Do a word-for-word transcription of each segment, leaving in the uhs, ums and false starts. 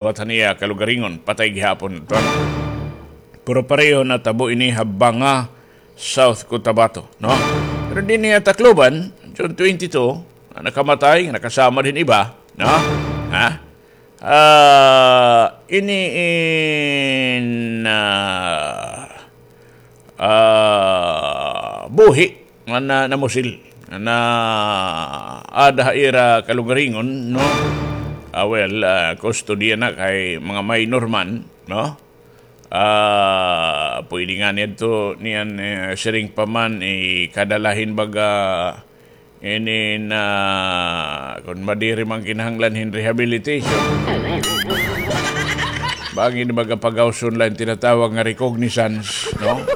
liwat han iya kalugaringon, patay gihapon ito. Pero pareho natabo ini ha Banga, South Cotabato, no? Pero dinhi ha Tacloban, June twenty-two, nakamatay, nakasamad hin iba, no? Ha? Ah, ini in, ah, ah, buhi nga na, namusil, nga naada ha ira kalugaringon, no? Ah, well, ah, kustodiya na kay mga minor man, no? Ah, pwede ngani adto niyan, eh, siring pa man, ikadala hin baga ini na, kon madiri man kinahanglan hin rehabilitation. Bangin baga pagawson la hin tinatawag nga recognizance, no?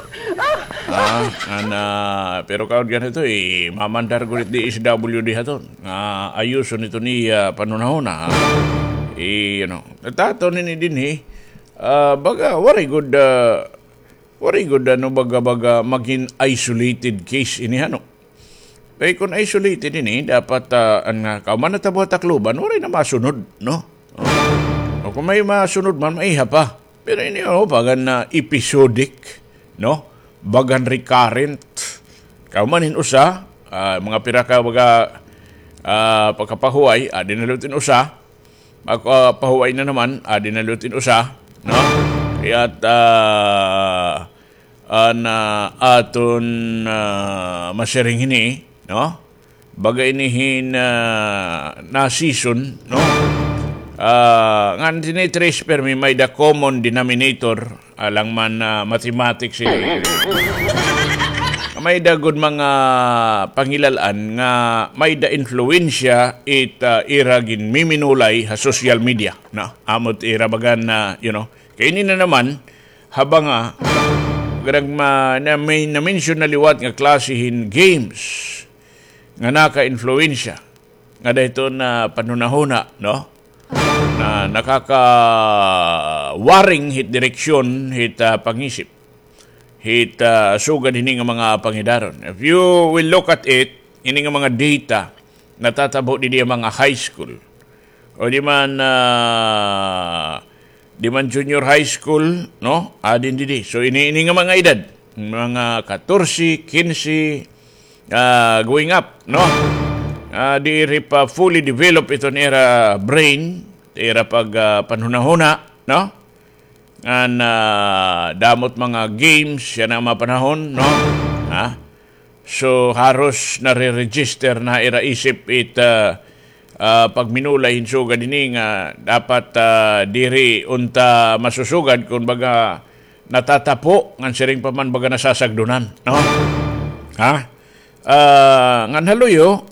Ah, ana, pero kaon ganito, eh, mamandar gud it D S W D haton. Nga ayuson ito niya panhunahuna, ha? Eh, you know, natato nini dinhi, ah, baga, waray gud, ah, waray gud, ano, baga, baga, magin isolated case ini, ano? Kay kon isolated ini, dapat, ah, an nga, kahuman natabo ha Tacloban, waray na masunod, no? O kon may masunod man, maiha pa. Pero ini, oh, bagan na episodic, no? Bagan recurrent. Kahuman hin usa, ah, mga pira ka baga, ah, pagkapahuway, adi na liwat hin usa. Ako, ah, pahuway na naman, adi na liwat hin usa, no? Kaya't, ah, an, ah, aton, ah, masiring hini, no? Baga ini hin, ah, na season, no? Ah, ngan tini-trace permi may-ada common denominator, alang man, ah, mathematics, eh. May-ada gud mga pangilal-an nga may-ada influensya it, ah, ira ginmiminulay ha social media, no? Amo it ira bagan na, you know, kay ini na naman, ha Banga, ganag ma-, na may na-mention na liwat nga klase hin games nga naka-influensya ngada hiton panhunahuna, no? Na nakakawaring hit direksyon hit, ah, pangisip hit, ah, sugad hini nga mga pangidaron. If you will look at it, ini nga mga data natatabo didi ha mga high school. O di man, ah, di man junior high school, no? Adin didi. So, ini, ini nga mga edad, mga katorse, kinse, ah, going up, no? Ah, diri pa fully develop iton ira brain, ira pag, ah, panhunahuna, no? Ngan, ah, damo it mga games, yana nga mga panahon, no? Ha? So, haros nare-register na ha ira isip it, ah, ah, pagminulay hin sugad hini nga dapat, ah, diri unta masusugad, kon baga natatapo, ngan siring pa man baga nasasagdunan, no? Ha? Ah, ngan ha luyo,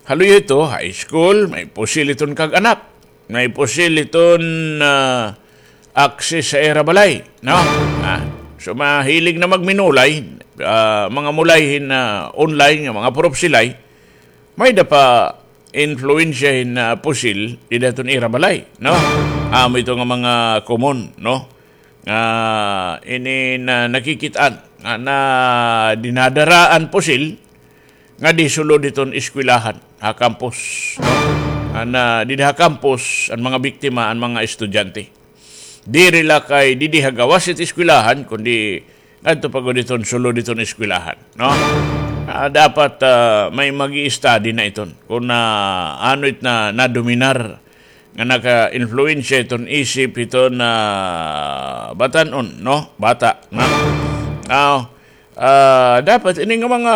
ha luyo ito, high school, may pusil iton kag-anak. May pusil iton, ah, access ha ira balay, no? Ah, so, mahilig na magminulay, ah, mga mulay hin, ah, online nga mga purupsilay, may-ada pa influensya hin, ah, pusil dida hiton ira balay, no? Amo ito nga mga common, no? Nga ini na nakikit-an nga, na dinadara an pusil, nga di sulod hiton eskwelahan, ha campus, no? An, ah, didi ha campus, an mga biktima, an mga estudyante. Diri la kay didi ha gawas hit eskwelahan, kundi ngadto pa gud hiton sulod hiton eskwelahan, no? Ah, dapat, ah, may mag-i-study na iton. Kon, ah, ano it na, nadominar nga naka-influensya hiton isip hiton, ah, batan-on, no? Bata, no? Now, Ah, dapat ini nga mga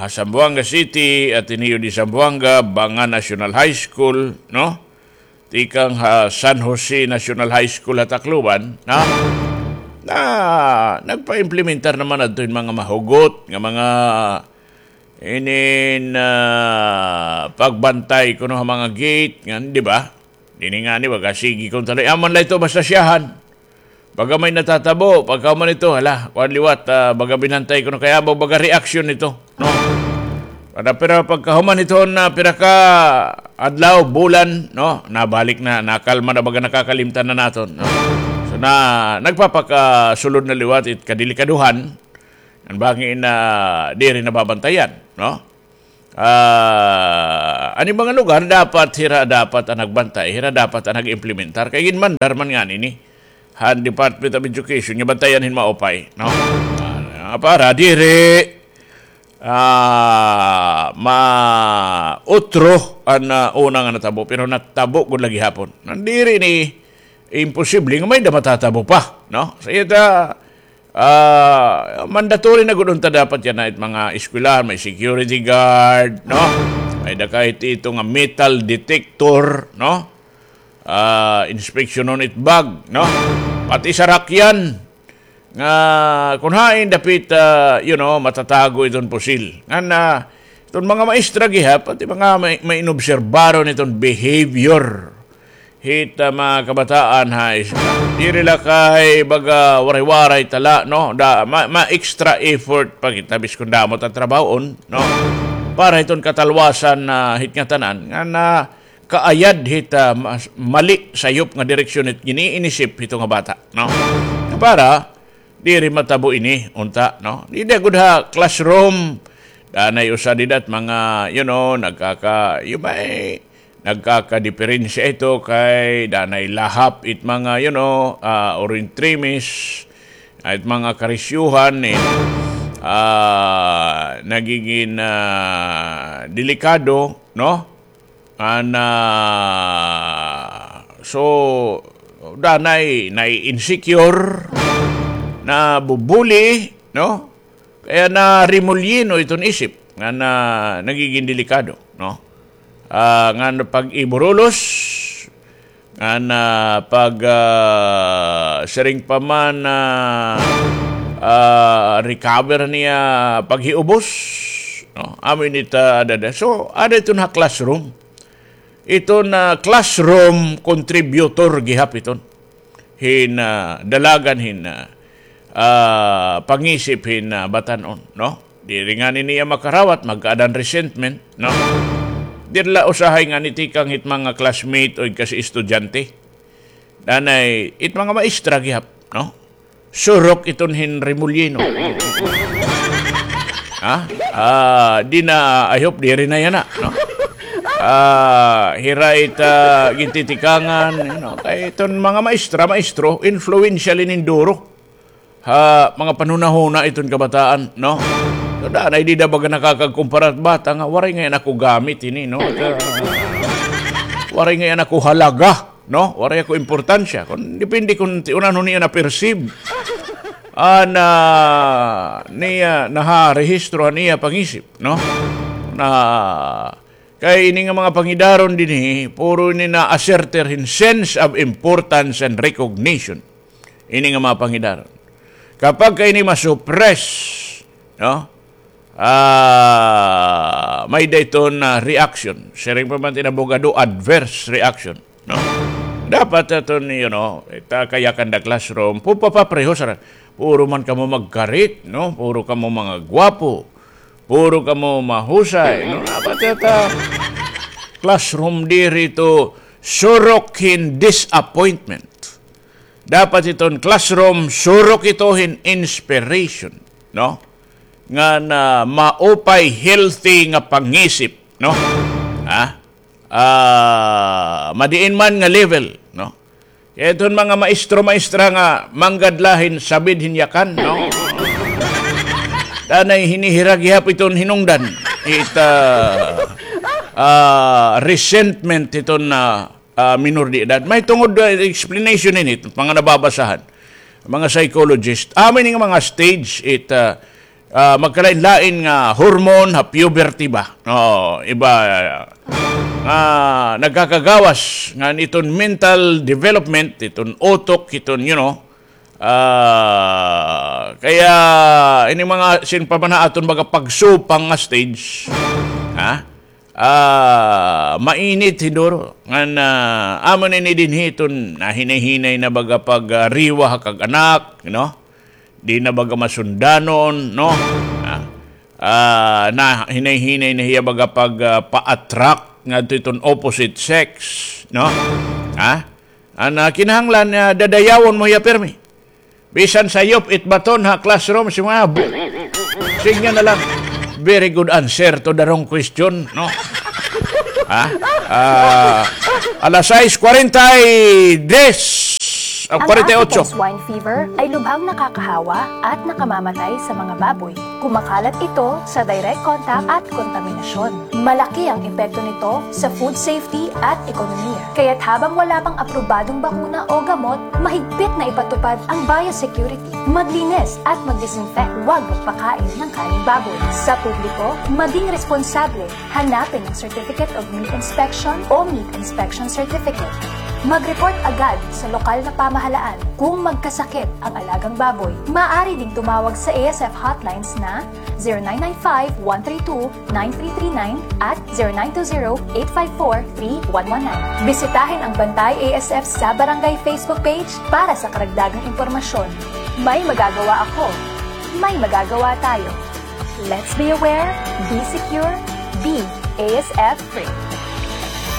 ha Zamboanga City, Ateneo de Zamboanga, Banga National High School, no? Tikang ha San Jose National High School ha Tacloban, no? Na nagpa-implementar naman adto hin mga mahugot nga mga inin, ah, pagbantay kuno ha mga gate, ngan, di ba? Dinhi ngani, baga, sige, kon talaga, aman la ito, basta siyahan. Baga may natatabo, pagkahuman ito, hala, kuan liwat, ah, baga binantay kuno kay amo, baga reaksyon nito, no? Kada pira pagkahuman ito na pira ka adlaw, bulan, no? Nabalik na, nakalma na, baga nakakalimtan na naton, no? So, na, nagpapakasulod na liwat it kadelikadohan, an bangin na diri nababantayan, no? Ah, an iba nga lugar, dapat hira dapat an nagbantay, hira dapat an nag-implementar. Kay ginmandar man ngani ini han Department of Education nga bantayan hin maupay, no? Ah, para diri, ah, mautro an, ah, una nga natabo, pero natabo gud la gihapon. Nandiri ini imposible nga may-ada matatabo pa, no? Sa iya ta, ah, mandatory na gud unta dapat yana it mga eskwelahan, may security guard, no? May-ada kahit ito nga metal detector, no? Ah, inspeksyonon it bag, no? Pati sarakyan nga kun hain dapit, ah, you know, matatago iton pusil. Ngan, ah, iton mga maestra gihap, pati mga may, may inobserbaron iton behavior hit, ah, mga kabataan ha is-, diri la kay baga waray-waray ta la, no? Da, ma, ma extra effort pa kita biskon damo ta trabahoon, no? Para hiton katalwasan na hit ngatanan, ngan kaayad hit, ah, mas, mali sayop nga direksyon hit gin-iinisip hito nga bata, no? Para diri matabo ini unta, no? Dida gud ha classroom, danay usa dida it mga, you know, nagkaka-, you may, nagkakadiperensya ito kay danay lahap it mga, you know, ah, orintremes, it mga karisyuhan, it, ah, nagigin, ah, delikado, no? Ana, so, danay nai-insecure, nabubuli, no? Kaya naremolyeno iton isip, nga na, nagigin delikado, no? Ah, nga pag-iburulos, nga na pag, ah, siring pa man, ah, ah, recover niya paghiubos, no? Amo ini ta, ada, ada. So, ada iton ha classroom. Iton, ah, classroom contributor gihap iton hin, ah, dalagan hin, ah, ah, pangisip hin, ah, batan-on, no? Diri ngani niya makarawat, magkaadan resentment, no? Diri la usahay ngani tikang hit mga classmate o kasi estudyante. Danay, it mga maestra gihap, no? Surok iton hin remolyeno. Ha? Ah, di na, I hope diri na yana, no? Ah, hira it gintitikangan, you know, kay iton mga maestra, maestro, influential ini duro ha mga panhunahuna iton kabataan, no? So, danay dida baga nakakagkumpara it bata nga, waray ngay-an ako gamit ini, no? Waray ngay-an ako halaga, no? Waray ako importansya. Kon, depende kon ti-, unan-on niya na-perceive. An, ah, niya, naharehistro an iya pangisip, no? Na, kay ini nga mga pangidaron dinhi, puro ini na-asserter hin sense of importance and recognition. Ini nga mga pangidaron. Kapag ka ini ma-suppress, no? Ah, may-ada iton reaction. Siring pa man it abogado, adverse reaction, no? Dapat iton, you know, it, ah, kayakan da classroom, pupapapreho sa, puro man kamo magkarit, no? Puro kamo mga gwapo. Puro kamo mahusay, no? Dapat it, ah, classroom diri ito surok hin disappointment. Dapat iton classroom, surok ito hin inspiration, no? Nga na maupay, healthy nga pangisip, no? Ha? Ah, madiin man nga level, no? Kay iton mga maestro, maestra nga manggad la hin sabid hin yakan, no? Danay hinihira gihap iton hinungdan. It, ah, ah, resentment iton, ah, ah, minor de edad. May tungod, ah, explanation ini, mga nababasahan. Mga psychologist, amo ini nga mga stage, it, ah, ah, magkalain-lain nga hormone ha puberty ba? Oo, iba, ah, nga nagkakagawas ngan iton mental development, iton utok, iton, you know, ah, kaya ini mga sin pa man ha aton baga pagsupang nga stage, ha? Ah, mainit hin duro. Ngan, ah, amo na ini dinhi iton nahinay-hinay na baga pag, ah, riwa ha kag-anak, you know? Di na baga masundanon, no? Ah, ah, nahinay-hinay na hiya baga pag, ah, pa-attract ngadto iton opposite sex, no? Ha? An, ah, kinahanglan, ah, dadayawon mo hiya pirmi. Bisan sayop it baton ha classroom, si mga bu-, siring niya na lang. Very good answer to the wrong question, no? Ha? Ah, alas sais kwarenta y tres, ah, Ang kwarenta y otso. African swine fever ay lubhang nakakahawa at nakamamatay sa mga baboy. Kumakalat ito sa direct contact at kontaminasyon. Malaki ang epekto nito sa food safety at ekonomiya. Kaya't habang wala pang aprobadong bakuna o gamot, mahigpit na ipatupad ang biosecurity. Maglinis at mag-disinfect. Huwag magpakain ng karneng baboy. Sa publiko, maging responsable. Hanapin ang Certificate of Meat Inspection o Meat Inspection Certificate. Mag-report agad sa lokal na pamahalaan kung magkasakit ang alagang baboy. Maaari ding tumawag sa A S F hotlines na zero nine nine five, one three two, nine three three nine at zero nine two zero, eight five four, three one one nine. Bisitahin ang Bantay A S F sa Barangay Facebook page para sa karagdagang impormasyon. May magagawa ako. May magagawa tayo. Let's be aware, be secure, be A S F free.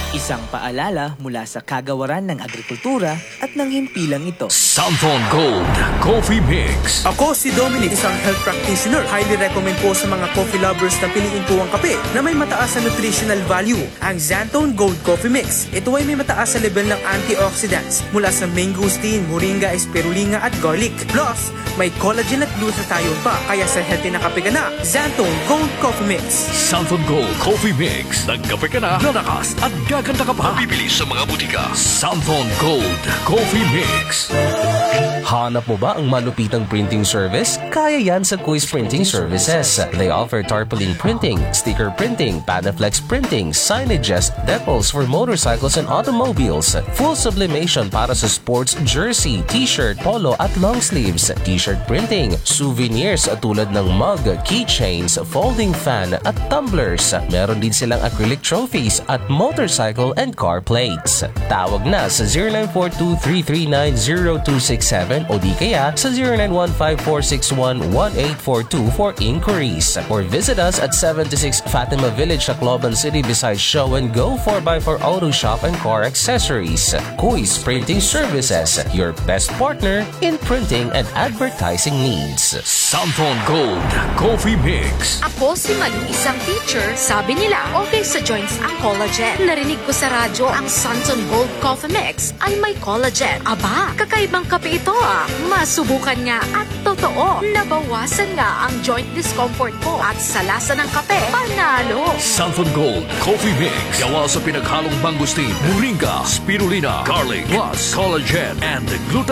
Isang paalala mula sa Kagawaran ng Agrikultura at ng himpilang ito. Santhon Gold Coffee Mix. Ako si Dominic, isang health practitioner. Highly recommend po sa mga coffee lovers na piliin po ang kape na may mataas na nutritional value, ang Xanthone Gold Coffee Mix. Ito ay may mataas na level ng antioxidants mula sa mangosteen, moringa, spirulina at garlic. Plus, may collagen at glutathione pa, kaya sa healthy na kape ka na, Xanthone Gold Coffee Mix. Santhon Gold Coffee Mix. Nagkape ka na, lalakas at gaganda ka pa. Mabibili sa mga butika. Santhon Gold Coffee Mix. Hanap mo ba ang malupitang printing service? Kaya yan sa Kuis Printing Services. They offer tarpaulin printing, sticker printing, Panaflex printing, signages, decals for motorcycles and automobiles, full sublimation para sa sports jersey, t-shirt, polo at long sleeves, t-shirt printing, souvenirs tulad ng mug, keychains, folding fan at tumblers. Meron din silang acrylic trophies at motorcycle and car plates. Tawag na sa zero nine four two three three nine zero two six seven o di kaya sa zero nine one five four six one one eight four two for inquiries. Or visit us at seventy-six Fatima Village, Tacloban City, beside Show and Go, four by four Auto Shop and Car Accessories. Kuis Printing Services, your best partner in printing and advertising needs. Santhon Gold Coffee Mix. Ako si Malu, isang teacher. Sabi nila, okay sa joints ang collagen. Narinig ko sa radyo ang Santhon Gold Coffee Mix ay may collagen. Aba, kakaibang kape ito, ah. Masubukan nga at totoo, nabawasan nga ang joint discomfort ko at sa lasa ng kape, panalo. Santhon Gold Coffee Mix. Gawa sa pinaghalong mangosteen, moringa, spirulina, garlic, plus collagen and glutathione.